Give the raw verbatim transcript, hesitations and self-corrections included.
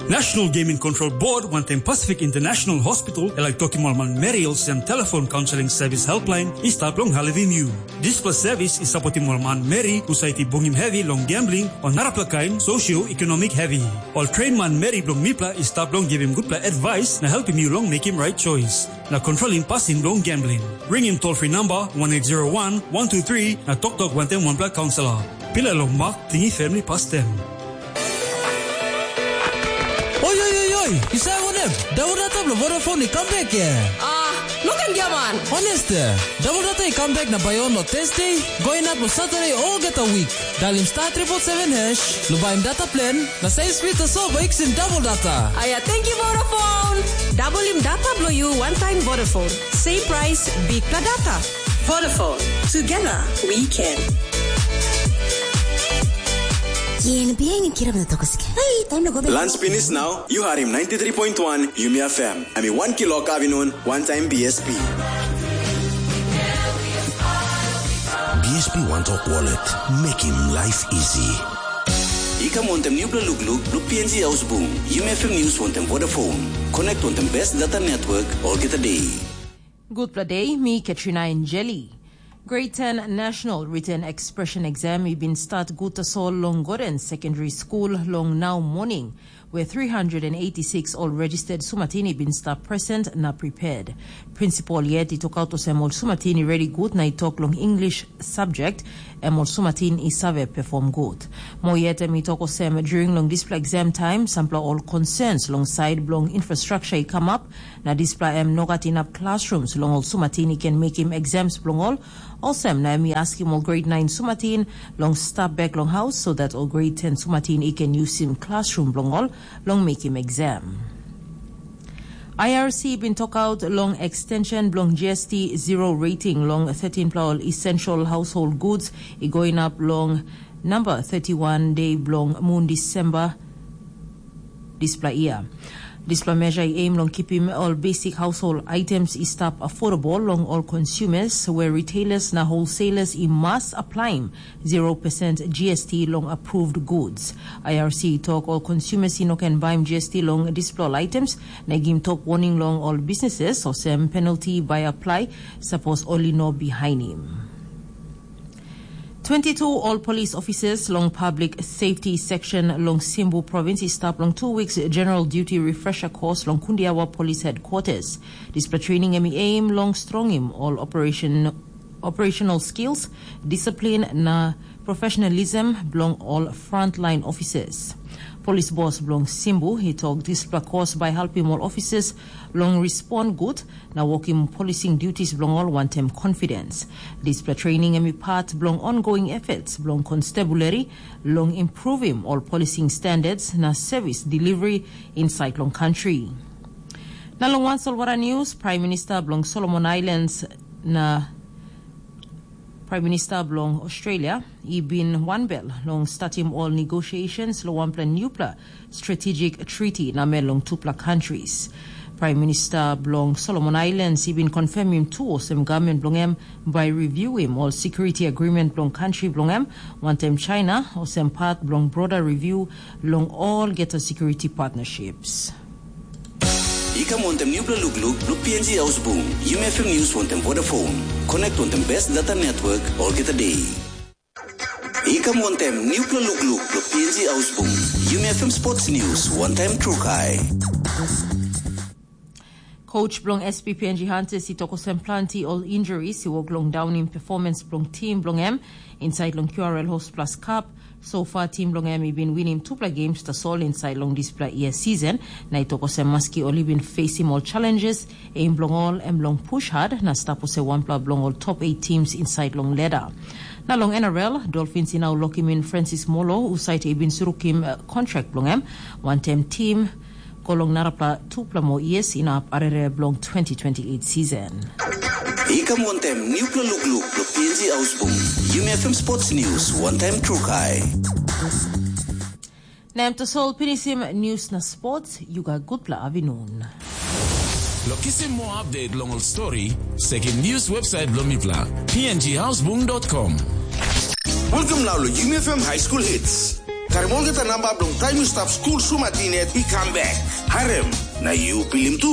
National Gaming Control Board wantaim Pacific International Hospital e laik tokim ol manmeri olsem telefon kaunseling sevis helpline i stap long helpim yu. Dispela sevis i sapotim ol manmeri husat i bungim hevi long gambling o narapela kain socio-economic hevi. Ol train manmeri bilong mipela i stap long givim gutpela advice na helpim yu long mekim right choice na controlim pasin bilong gambling. Ringim toll free number one eight zero one one two three na toktok wantaim wanpela kaunselor. Pila long mak tingi family pastem. Oi, oi, oi, oi, yu save wanem? Double data bilong Vodafone i kam bek, eh? Ah, no ken giaman. Honest, eh? Double data i kam bek na bai on lo Thursday, go inap lo Saturday olgeta week. Dalim star triple seven hash, lo baim data plan, na save speed tasol bai kisim double data. Aia, thank you Vodafone. Dabolim data bilong yu one time Vodafone. Same price, big pla data. Vodafone. Together, we can. Yen bihain kirap na tokos ke. Hey, time na go. Lunch finish now. You heard him ninety-three point one Yumi F M. I mean, one kilo kavinun, one time B S P. B S P One Talk Wallet. Make him life easy. I kam wantem nupela lukluk, luk P N G Ausbung, Yumi F M News wantem Vodafone. Connect wantem best data network, olgeta day. Gutpela day, mi Katrina Enjeli. Grade ten National Written Expression Exam i bin start gut tasol long Gordon Secondary School long nau morning, where three hundred and eighty-six ol registered sumatin i bin stap present na prepared. Principal yet i tokaut olsem ol sumatin i redi gut na i tok long English subject, em ol sumatin i save perform gut. Mo yet em i tok olsem during long dispela exam time, sampela ol concerns long side bilong infrastructure i kamap, na dispela em no gat inap classrooms long ol sumatin i ken mekim exams bilong ol. Olsem na em i askim ol grade nine sumatin long stap bek long haus, so that ol grade ten sumatin i ken yusim classroom bilong ol long mekim exam. I R C bin tokaut long extension bilong G S T zero rating long thirteen pla ol essential household goods i go inap long number thirty-one day bilong mun Disemba dispela year. Dispela measure i aim long kipim ol basic household items i stap affordable long ol consumers, where retailers na wholesalers i mas aplaim zero percent G S T long approved goods. I R C i tok ol consumers i no ken baim G S T long dispela ol items, na i gim tok warning long ol businesses olsem penalty bai apply sapos ol i no bihainim. Twenty-two ol police officers long public safety section long Simbu province i stap long two weeks general duty refresher course long Kundiawa Police Headquarters. Dispela training em i aim long strongim ol operation, operational skills, discipline na professionalism bilong ol frontline officers. Police boss bilong Simbu i tok dispela course bai helpim ol officers long respond gut na wokim policing duties bilong ol wantaim confidence. Dispela training em i part bilong ongoing efforts bilong constabulary long improvim ol policing standards na service delivery inside long country. Na long wan solwara news, Prime Minister bilong Solomon Islands na Prime Minister bilong Australia i bin wanbel long statim ol negotiations long wanpela newpela strategic treaty namel long tupela countries. Prime Minister bilong Solomon Islands i bin confirmim tu olsem government bilong em bai reviewim ol security agreement bilong country bilong em wantaim China olsem part bilong broader review long olgeta security partnerships. I kam wantem nupela lukluk bilong P N G Ausbung, Yumi F M News wantem Vodafone. Connect wantem best data network olgeta day. I kam wantem nupela lukluk bilong P N G Ausbung, Yumi F M Sports News wantaim Trukai. Coach bilong S P P N G Hunters i tok olsem planti ol injuries i wok long daunim performance bilong tim bilong em inside long Q R L Host Plus Cup. So far, tim bilong em i bin winim tupela games tasol inside long dispela year season, na i tok olsem maski ol i bin facing ol challenges, aim bilong ol em long push hard na stap olsem wanpela bilong ol top eight teams inside long ladder. Na long N R L, Dolphins i nau lokim in Francis Molo, husat i bin surukim uh, contract bilong em, wantaim tim go long narapela tupela moa years inap arere bilong twenty twenty-eight season. I kam wantem nupela lukluk bilong P N G Ausbung, Yumi F M Sports News wantaim Trukai. Na em tasol pinisim news na sports, yu gat gutpela avinun. Lo kisim moa update long ol story, sekim news website bilong mipela, P N G Ausbung dot com. Welcome now lo Yumi F M High School Hits. Karim olgeta namba bilong taim yu stap skul sumatin yet i kam bek. Harim, na yu pilim tu.